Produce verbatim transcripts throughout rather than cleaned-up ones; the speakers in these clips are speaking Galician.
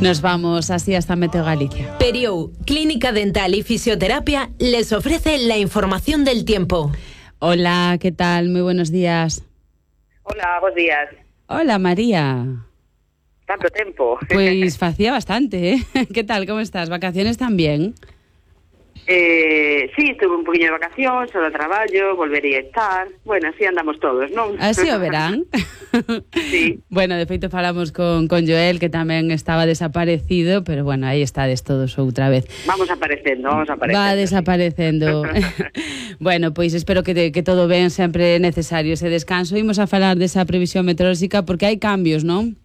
Nos vamos así hasta Meteo Galicia. Periou, Clínica Dental y Fisioterapia, les ofrece la información del tiempo. Hola, ¿qué tal? Muy buenos días. Hola, buenos días. Hola, María. Tanto tempo. Pues facía bastante, ¿eh? ¿Qué tal? ¿Cómo estás? ¿Vacaciones también? Eh, sí, estuve un poquinho de vacación, solo traballo, volvería a estar. Bueno, así andamos todos, non? Así o verán. Sí. Bueno, de feito falamos con, con Joel, que tamén estaba desaparecido, pero bueno, aí estades todos outra vez. Vamos aparecendo, vamos aparecendo. Va desaparecendo. Bueno, pois espero que, te, que todo ben, sempre é necesario ese descanso. Imos a falar desa previsión meteorolóxica porque hai cambios, non?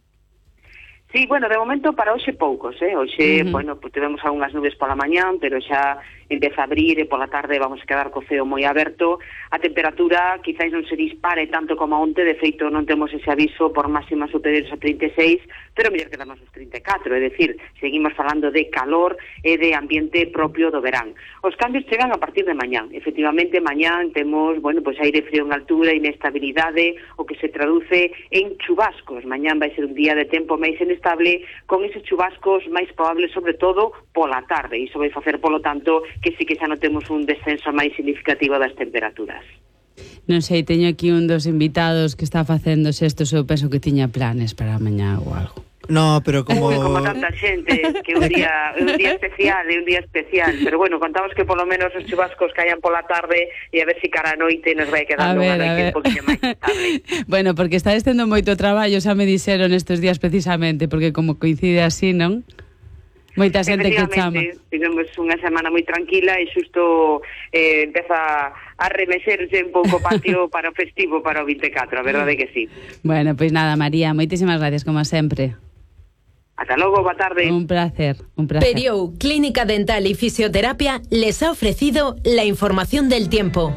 Sí, bueno, de momento para hoxe poucos, eh? Hoxe, uh-huh. bueno, pues tivemos algunhas nubes pola mañán, pero xa empeza a abrir e pola tarde vamos a quedar co ceo moi aberto. A temperatura quizáis non se dispare tanto como onte, de feito non temos ese aviso por máximas superiores a trinta e seis, pero mellor quedamos os trinta e catro, é dicir, seguimos falando de calor e de ambiente propio do verán. Os cambios chegan a partir de mañán. Efectivamente, mañán temos, bueno, pues aire frío en altura, inestabilidade, o que se traduce en chubascos. Mañán vai ser un día de tempo máis inestable, con eses chubascos máis probables, sobre todo pola tarde. Iso vai facer, polo tanto, que sí que xa notemos un descenso máis significativo das temperaturas. Non sei, teño aquí un dos invitados que está facendo estos, eu penso que tiña planes para mañá ou algo. No, pero como... Uy, como tanta xente, que un día, un día especial, e un día especial. Pero bueno, contamos que polo menos os chubascos caían pola tarde e a ver si cara a noite nos vai quedando unha noite un poquinho máis estable. Bueno, porque está estendo moito traballo, xa me dixeron estes días precisamente, porque como coincide así, non? Moita xente que chama. Tivemos unha semana moi tranquila e xusto eh, empeza a remexerse un pouco o patio para o festivo, para o vinte e catro, a verdade que sí. Bueno, pois pues nada, María, moitísimas gracias, como sempre. Hasta logo, boa tarde. Un placer, un placer. Periou, Clínica Dental y Fisioterapia, les ha ofrecido la información del tiempo.